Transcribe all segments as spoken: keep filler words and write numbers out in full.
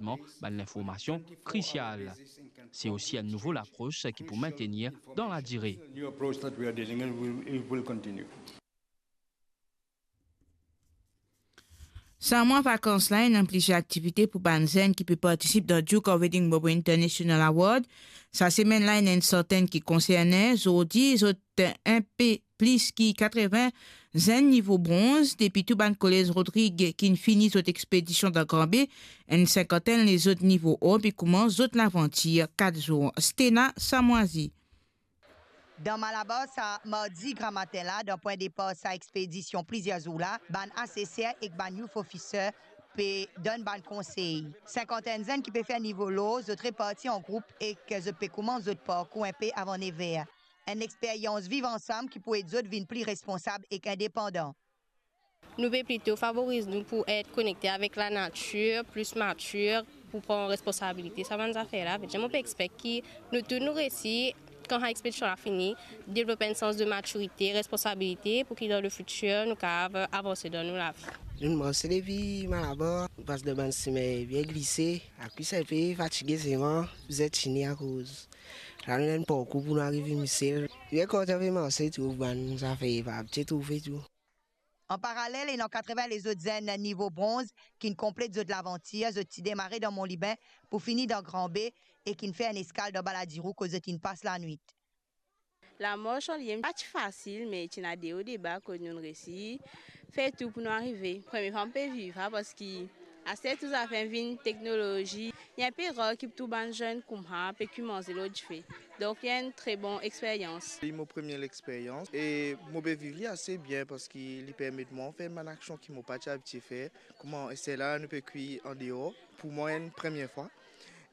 Bann linformasion krisial. Se osi enn nouvo lapros ki pou maintenir dan ladire. New approach that we are dealing in, we, it will continue. Sa mwa vakans la, ena plizier aktivite pou bann zenn ki pe partisip dan Duke of Edinburgh International Award. Sa semenn la, ena enn sartenn ki konserne. Zordi, zot enpe plis ki katreven zenn nivo bronz depi tou bann kolez Rodrig ki'nn fini zot expedision dan Granbe. Enn sinkantenn lezot nivo or pe koumans zot lavantir kat zour. Stena Samwazi. Dan Malabar sa mardi gramatin la, dan pwin depar sa expedision plizier zour la, bann aseser ek bann youth officer pe donn bann konsey. Sinkantenn zenn ki pe fer nivo lor, zot reparti an group ek zot pe koumans zot parkour inpe avan nev er. Enn experyans viv ansam ki pou ed zot vinn pli responsab ek indepandan. Nou pe plito favoriz nou pou et konekte avek lanatir, plis matir, pou pran responsabilite sa bann zafer la. Vedir mo pe expect ki nou tou nou resi, kan sa expedision la fini, devlop enn sans de matirite, responsabilite, pou ki dan le fitir nou kapav avanse dan nou lavi. Nou mars depi Malabar, nou pas dan bann sime bien glise, lakwis inpe fatige selman, bizin tini akoz la nou ena enn parkour pou nou arive Misel. Bien kontan pe marse, trouv bann zafer pa abitie trouve tou. An paralel, ena katreven lezot zenn nivo bronz ki'nn konplet zot lavantir, zot ti demare dan Mont Libin pou fini dan Granbe e ki'nn fer enn eskal dan Balladirou kot zot inn pas lanwit. Lamars an liye pa ti fasil, me ti ena de o de ba kot nou'nn resi fer tou pou nou arive. Premie fwa mo pe viv sa, parski aster tou zafer vinn teknolozi, li inpe rar ki tou bann zenn koumsa pe koumanse lor dife. Donk li enn tre bon experyans. Li mo premie experyans e mo pe viv li ase bien parski li permet mwa fer bann aksion ki mo pa ti abitie fer, kouma enn sel la nou pe kwi andeor, pou mwa enn premie fwa.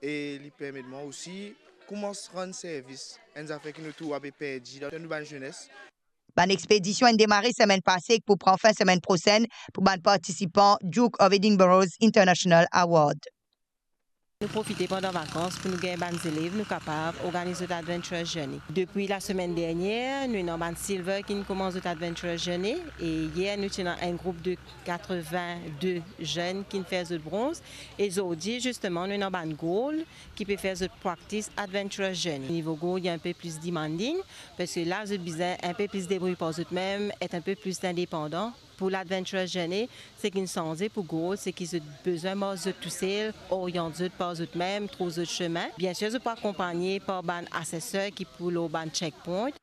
E li permet mwa osi koumans rann servis enn zafer ki nou tou ape perdi dan nou bann zenes. Bann expedision inn demare semenn pase ek pou pran fin semenn prosenn pou bann partisipan Duke of Edinburgh's International Award. Nou profite pandan vakans pou nou gagn bann zelev nou kapav organiz zot adventurous journey. Depi lasemenn dernier nou ena bann silver ki'nn koumans zot adventurous journey e yer nou ti ena enn group de katreven de zenn ki'nn fer zot bronz e zordi zisteman nou ena bann gold ki pe fer zot practice adventurous journey. Nivo gold li inpe plis demanding, parski la zot bizin inpe plis debrouy par zot mem, et inpe plis indepandan. Pou ladventurous journey, seki inn sanze pou gold, seki zot bizin mars zot tousel, oriant zot par zot mem, trouv zot sime. Biensir zot pou akonpagne par bann aseser ki pou lor bann checkpoint.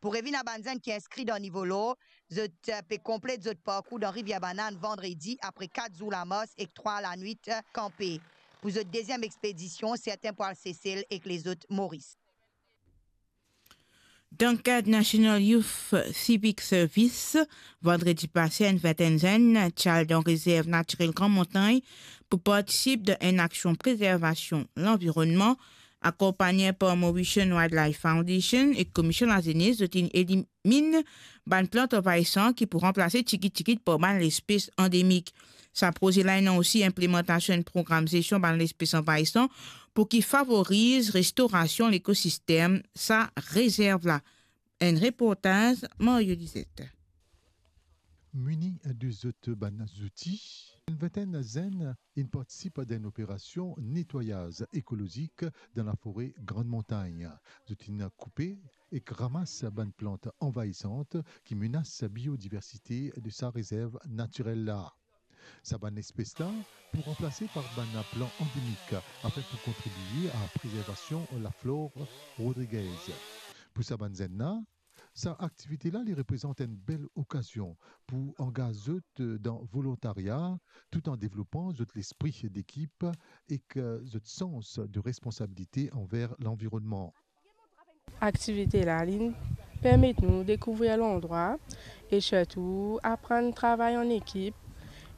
Pou revinn a bann zenn ki inskri dan nivo lor, zot pe konplet zot parkour dan Rivier Banane vandredi apre kat zour lamars ek trwa lanwit kanpe. Pou zot deziem expedision, sertin pou al Sesel ek lezot Moris. Dan kad National Youth Civic Service, vandredi pase enn vintenn zenn ti al dan rezerv natirel Gran Montagn pou partisip dan enn aksion prezervasion lanvironnman, akonpagne par Mauritian Wildlife Foundation ek Komisyon Lazenes, zot inn elimin bann plant anvayisan ki pou ranplase tigit-tigit par bann lespes andemik. Sa proze la ena osi inplemantasion enn program zestion bann lespes anvayisan pou ki favoriz restorasion lekosistem sa rezerv la. Enn reportaz Mario Lizette. Mini de zot bann zouti, enn vintenn zenn inn partisip dan enn operasion netwayaz ekolozik dan lafore Gran Montagn. Zot inn koupe ek ramas bann plant anvayisan ki menas biodiversite de sa rezerv natirel la. Sa bann lespes la pou ranplase par bann plant andemik, afin pou kontribie a prezervasion laflor rodrigez. Pou sa bann zenn la, sa aktivite la li reprezant enn bel okazion pou angaz zot dan volontaria, tout an devlopan zot lespri dekip ek zot sans de responsabilite anver lanvironnman. Aktivite la, li permet nou dekouvrir landrwa e sirtou aprann travay an ekip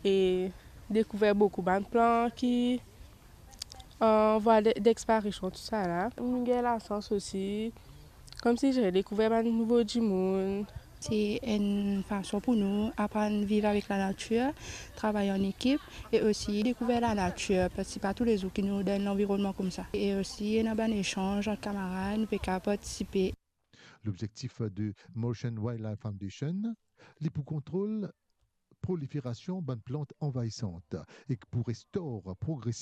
e dekouvrir boukou bann plan ki an vwa de, dexparision, tousala. Nou gagn lasans osi, koumsi zot dekouvrir bann nouvo dimoun. Se enn fason pou nou aprann viv avek lanatir, travay an ekip e osi dekouvrir lanatir, parski pa toulezour ki nou dan enn lanvironnman koumsa. E osi ena bann esanz ant kamarad, nou pe kapav partisipe. Lobzektif de Mauritian Wildlife Foundation, li pou kontrol proliferasion bann plant anvayisan ek pou restor progresivman